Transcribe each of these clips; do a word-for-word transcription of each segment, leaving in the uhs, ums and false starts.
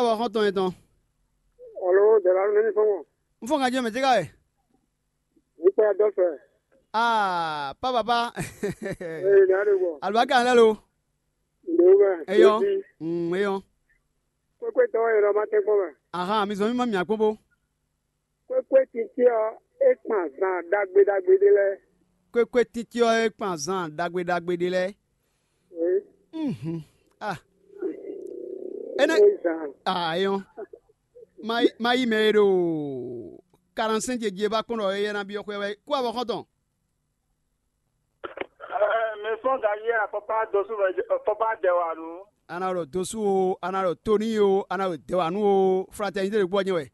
Awɔ xɔ́ntɔn yɛn tɔn. Alo, dɛ̌lá nú ní fɔ́n mɔ. Un fɔ́n ganjí mɛ tíká wɛ. Ní kpɔ́ dɔ fɛ. Aa, pá baba. Ee, ní adé gbɔ. Alubaka lɛ lo. Ndo mɛ. Eyɔ. Mm, eyɔ. Kpékpé tɔn e lɔ ma tɛn kpɔ́n mɛ. Ahan, mi zɔn mi ma mia kpɔ́n bó. Kpékpé titi ɔ, é kpan zan ɖagbe ɖagbe ɖé lɛ́ɛ. Kpékpé titi ɔ, é kpan zan ɖagbe ɖagbe ɖé lɛ́ɛ. Ee. Mhm. Ah. Énɛ́. É zan. Ah, eyɔ. Ma yi, ma yi mɛ e ɖo quarante-cinq ce jí e ba kpɔ́n ɖɔ éyɛ́ ná byɔ́ xwé wɛ kú avɔ xɔ́ntɔn. Ɛɛ, mi fɔ́n ganjí wɛ akɔ́kpá dɔsú wɛ akɔ́kpá dɛ wǎ nú. A nǎ ɖɔ dosú o, a nǎ ɖɔ toní o, a nǎ ɖɔ dɛwǎnú o, fraternité ɖokpó ɔ́ nyɛ wɛ.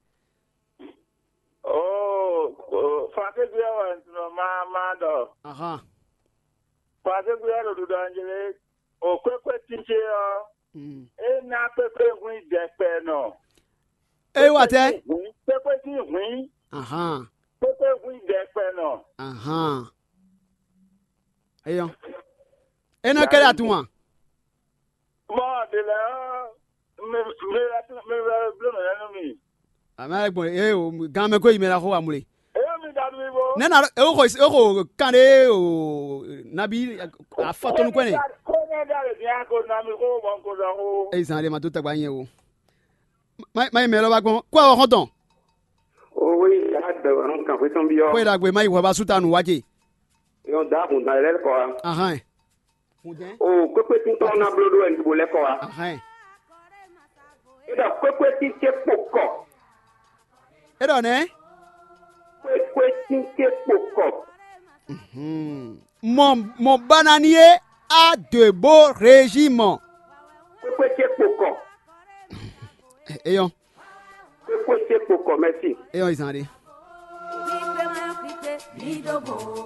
Oo, oo, flakégbé ɔ́ wɛ un tunɔ ma ma ɖɔ. Ahan. Flakégbé ɔ́ ɖo ɖuɖɔ anjlé. O kpékpé tínce ɔ́, Mm. É ná kpékpé hwín dɛkpɛ nɔ. É wà tɛ. Hwín, kpékpé sín hwín, Ahan. Kpékpé hwín dɛkpɛ nɔ. Ahan. Eyɔ. É ná kɛ ɖe atún wa. Mɔ ɖe lɛ ɔ́, mi mi mi wɛ bló nɔ yɛn nú mi. Àmì alẹ́ gbɔn eye o gan mɛ ko yi mɛ la xó wa mle. Eyɔ mi da mi bo. Nɛ na e ko e ko kan ɖe o nabi afɔtɔnu kɔn ne. Ko ne da le dia ko na mi ko mɔ ko da ko. Eyi zan ɖe ma dó tagba nyɛ o. Má má yi mɛ lɔ ba gbɔn kó awɔ xɔntɔn. Owe ya dɛ wɛ nɔ kan xwetɔn bi ɔ. Kó e ɖagbe má yi hwɛ ba súta nǔ wá ce. Yɔ da kun da lɛ kɔ wa. Ahán. O kpékpé títɔ ná bló ɖó wɛ nǔgbó lɛ́ kɔ wa. Ahán. É ɖɔ kpékpé títí kpo kɔ. É ɖɔ nɛ́. Kpékpé títí kpo kɔ. Mɔ mɔ bananier a dwe bó régi mɔ. Kpékpé ce kpo kɔ. Eyɔn. Kpékpé ce kpo kɔ mɛsi. Eyɔn izan ɖe.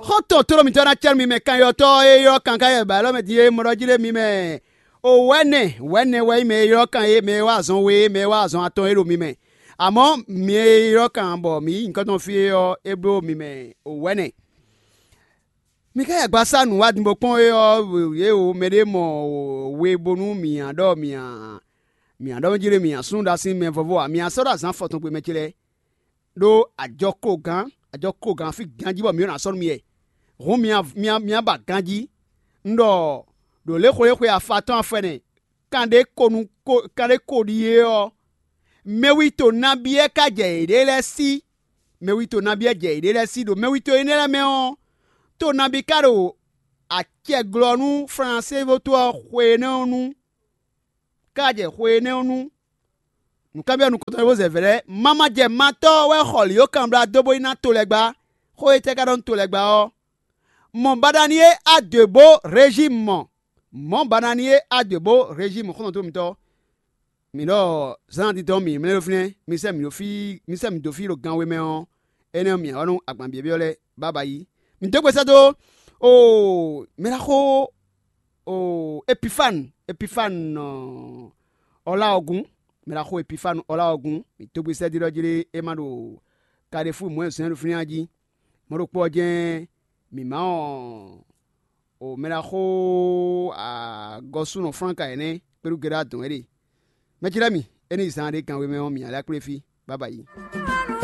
Xɔ́ntɔn tlóló mǐtɔn ná cɛ́nú mi mɛ kanyɔ́tɔ́ e ylɔ́ kan káyɛ ba élɔ́ mɛ din e mɔ ɖɔ jí ɖé mi mɛ. O wɛ̌nɛ wɛ̌nɛ wɛ nyí mɛ e ylɔ́ kan e mɛ e wá azɔn we e mɛ e wá azɔn atɔn e ɖo mi mɛ. Amɔ̌ mi e ylɔ́ kan bɔ mǐ nyí nyǐkɔ tɔn fí é ɔ́, é bló mi mɛ o wɛ̌nɛ. Mi ka yi agbaza nǔ wá din bó kpɔ́n é ɔ́, yě o mɛɖé mɔ we bónú mǐ nya ɖɔ mǐ nya mǐ nya ɖɔ mɛ jí ɖé mǐ nya súnnu ɖo así mɛ vɔvɔ ǎ, mǐ nya sɔ́ ɖo azǎn afɔtɔn gbe mɛ ce lɛ́ɛ, ɖó ajɔ klo gǎn, ajɔ klo gǎn fí ganjí bɔ mǐ ɖo ná sɔ́ nú mi wɛ. Hǔn mi nya mi nya mi nya ba ganjí. Un ɖɔ ɖo lě xwé xwe afa tɔn afɔ ɛnɛ, kan ɖé ko nú ko kan ɖé ko ɖíe ɔ́, mɛwito nabí wɛ ka jɛ yěɖée lɛ́ɛ sí. Mɛwito nabí wɛ jɛ yěɖée lɛ́ɛ sí ɖo mɛwito énɛ́ lɛ́ɛ mɛ ɔ́, to nabí ka ɖo acɛ glɔ́ nú Flansée vo tó ɔ́ xwe énɛ́ ɔ́ nu, ká jɛ xwe énɛ́ ɔ́ nu. Nǔkanbyɔ́ nukɔntɔn e bó zɛ vɛ̌ lɛ́ɛ, mamajɛ matɔ́ ɔ́ wɛ xɔ lǐyókanblá dó bó yi ná to lɛ́ɛ gbá. Xó étɛ́ ka ɖɔ nú to lɛ́ɛ gbá ɔ́? Mɔ baɖani e a dǒ bó Rezímu mɔ. Mɔ̌ baɖani e a dǒ bó Rezímu xɔ́ntɔn mitɔn. Mǐ ɖɔ zán titɔn mǐ mlɛ́ ɖó fínɛ́, mi sɛ́ mǐ ɖó fí mi sɛ́ mǐ dó fí ɖo gan we mɛ ɔ́, énɛ́ ɔ́ mǐ wá nú agban byɔ̌byɔ́ lɛ́ɛ bába yí. Mǐ dó gbe sɛ́ dó oo mɛ ná xó oo Epifánu, Epifánu ɔ́ lá ɔ́ gún, mɛ ná xó Epifánu ɔ́ lá ɔ́ gún. Mǐ dó gbe sɛ́ dó ɖɔ jí ɖé é má ɖo Kaɖefú mɔ̌ e zɔ́n ɛ ɖo fínɛ́ ɔ́ jí. Mɔ̌ ɖokpó ɔ́ jɛ́n mǐ má ɔ́ o mɛ ná xó agɔsúnɔ Flánka ɛnɛ́ kpéɖú geɖá dɔn é ɖe. Mɛ ce lɛ́ɛ mi, é ní zán ɖé gan we mɛ ɔ́, mǐ ná lɛ́ kplé fí. Bába yí.